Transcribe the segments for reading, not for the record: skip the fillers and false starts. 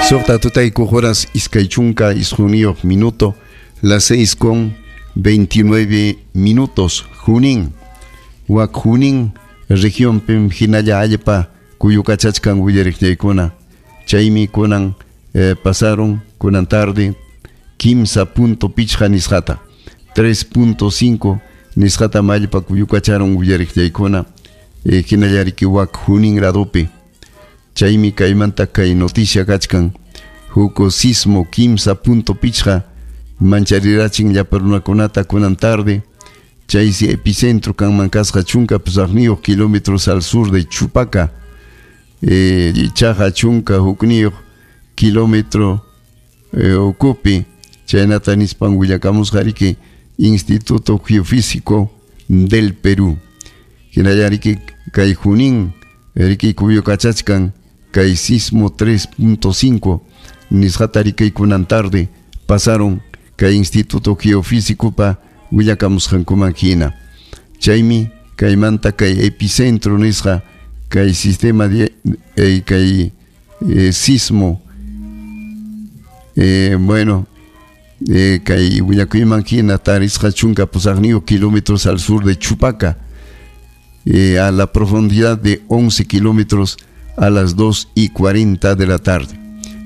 Suqta tutaykuq horas iskay chunka isqunniyuq minuto, las 6:29. Junín, wak Junín regionpim hinalla allpa kuyukachachkan, willariqllaykuna. Chaymi kunan pasaron kunan tarde 3.5 nisqata, 3.5 nisqata allpa kuyukacharon, willariqllaykuna, hinallariki wak Junín ladopi. Chaymi kaymanta kay noticia kachkan: huk sismo 3.5 mancharirachin llapa runakunata kunan tarde. Chaysi epicentro kanman kasqa 18 kilómetros al sur de Chupaca, ichaqa 11 kilómetro ukupi. Chaynata nispan willakamusqariki Instituto Geofísico del Perú. Hinallariki kay Junín riki kuyukachachkan kay sismo 3.5 nisqata riki kunan tarde pasaron kay Instituto Geofísico pa willakamusqankuman hina. Chaymi kaymanta kay epicentro nisqa kay sistema de kay sismo, bueno, kay willakuyman hina tarisqa 18 kilómetros al sur de Chupaca, a la profundidad de 11 kilómetros a las 2:40 de la tarde.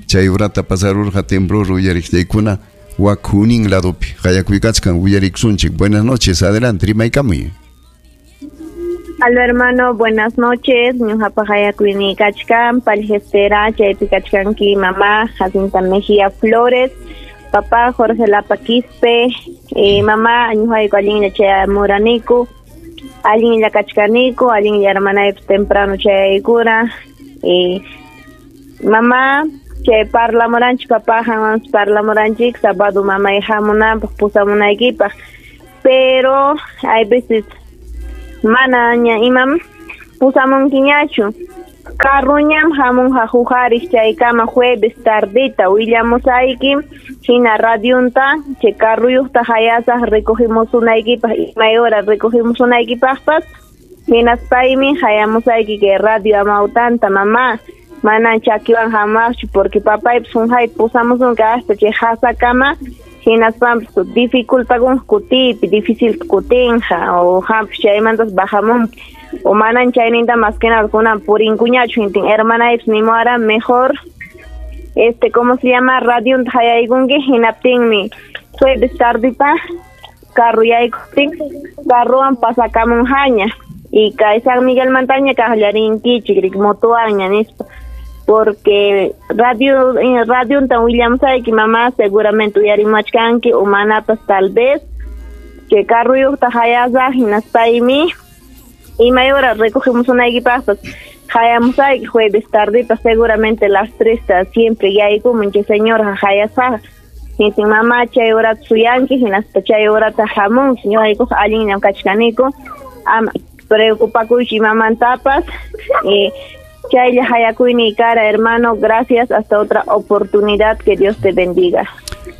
Chay urata pasarurqa temblor, uyariqllaykuna, wak Junín ladopi. Qayakuykachkan, uyariksunchik. Buenas noches, adelante, rimaykamuy. Aló, hermano, buenas noches. Ñuqapa qayakuyni kachkan, Palgestera, chaypi kachkanki mamá Jacinta Mejía Flores, papá Jorge Lapa Quispe, mamá ñuqayku allinlla chayamuraniku, allinlla kachkaniku, allinlla hermanaypas temprano chayaykura. Mamá, chay parlamuranchik, papá hanwanpas parlamuranchik, sábado mamay hamunanpaq pusamunaykipaq, pero hay veces mana ña imam pusamunkiñachu. Carruñam hamunqa huqariq chaykama jueves tardita, willamusayki hina radionta chay carruyuqta hayasaq recogimusunaykipaq, imay hora recogimusunaykipaqpas, hinaspaymi hayamusayki kay radio Amawtanta, mamá. Manan chakiwan hamaqchu porque papaypas hunqayta pusamusunki hasta chay hasakama, hinaspanpas dificultakun kutiypi, difícil kutinqa o hampas chaymantas bajamunki o manan chayninta más que nada kunan purinkuñachu. Hintin hermanaypas nimuwara mejor ¿cómo se llama? Radionta hayaykunki, hinaptinmi jueves tardita carro yaykuptin carrowan pasakamunqaña y kay San Miguel Montaña kaqllarinkichik motowanña nispa, porque radio radionta willamusayki, mamá, seguramente uyarimachkanki o manapas tal vez que carruyuqta hayasaq, hinaspaymi imay hora recogimusunaykipaqpas hayamusayki jueves tardita, seguramente las 3 siempre yaykumun chay señora hayasaq. Hintin mamá chay horata suyanki, hinaspa chay horata hamunki. Ñuqaykuqa allinllam kachkaniku, ama preocupakuychu imamantapas. Chaylla hayakuyni kara, hermano, gracias, hasta otra oportunidad, que Dios te bendiga.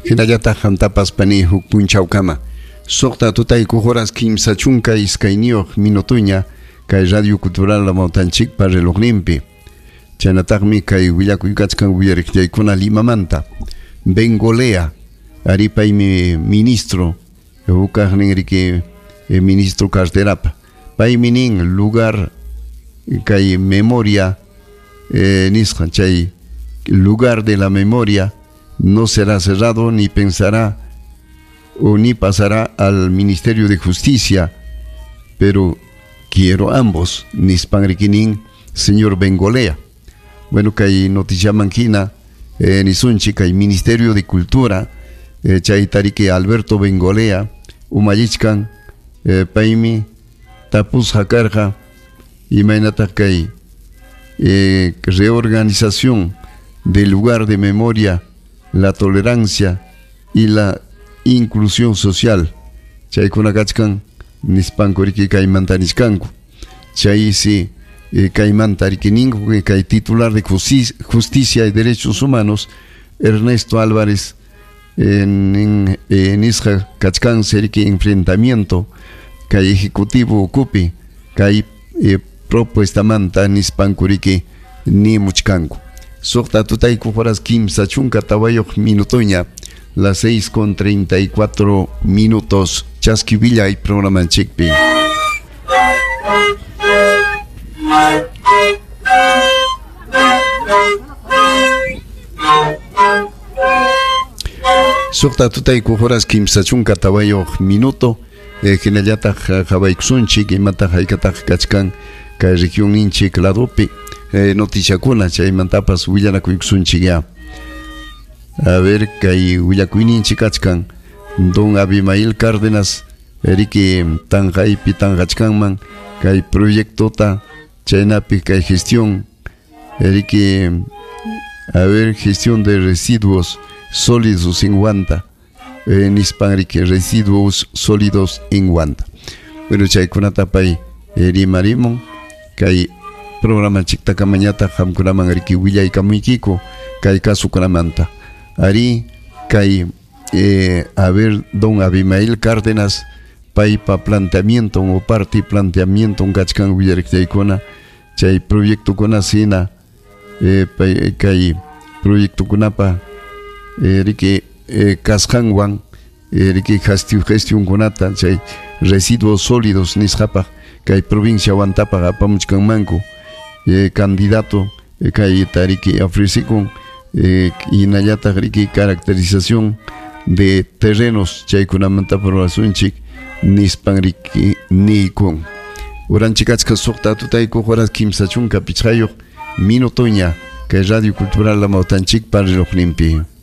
Hinallataq qamtapas, pani, huk punchawkama. 6 tutaykuq horas 32 minutuña kay Radio Cultural Amawtanchikpa relojninpi. Chaynataqmi kay willakuykachkan, uyariqllaykuna, Limamanta. Bengolea, ari paymi ministro, hukaqnin riki ministro carterapa. Paymi nin lugar kay memoria nisqa chay lugar de la memoria no será cerrado ni pensará o ni pasará al Ministerio de Justicia, pero quiero ambos, nispan rikinin señor Bengolea. Bueno, kay noticia manquina, nisunchi kay Ministerio de Cultura, chay tariki Alberto Bengolea, umallichkan, paymi tapusqa karqa imaynataq kay reorganización del lugar de memoria, la tolerancia y la inclusión social. Chaykuna kachkan nispanku riki kaymanta nishkanku. Chaysi kaymanta riki ninku kay titular de Justicia y Derechos Humanos, Ernesto Álvarez, nisqa kachkan riki enfrentamiento kay ejecutivo ukupi kay propuestamanta nispanku riki nimuchkanku. Suqta tutayku horas kimsa chunka tawayuq minutoña, las 6:34 minutos. Chaski Villa y programanchikpi. Suqta tutayku horas kimsa chunka tawayuq minuto. Hinallataq qhawaykusunchik imataq haykataq kachkan kay regionninchik ladopi noticiakuna, chaymantapas willanakuykusunchik ya. A ver, kay willakuyninchik kachkan don Abimael Cárdenas riki tanqaypi tanqachkanman kay proyectota chaynapi kay gestión riki, a ver, gestión de residuos sólidos en Huanta, nispan riki residuos sólidos en Huanta. Bueno, chaykunata pay rimarimun kay programa chiktakamañata qamkunaman riki willaykamuykiku kay kasukunamanta. Ari kay a ver, don Abimael Cárdenas paypa planteamiento o parte planteamiento kachkan willariqtaykuna chay proyectokuna sina pay kay proyectokunapa riki kasqanwan riki gestionkunata chay residuos sólidos nisqapaq kay provincia Huantapaq apamuchkanmanku candidato kay tariki ofrecikun hinallataq riki caracterización de terrenos chaykunamanta rurasunchik nispan riki niykun. Uranchik achka suqta tutayku horas kimsa chunka pichqayuq minutoña kay Radio Cultural Amawtanchikpa relojninpi.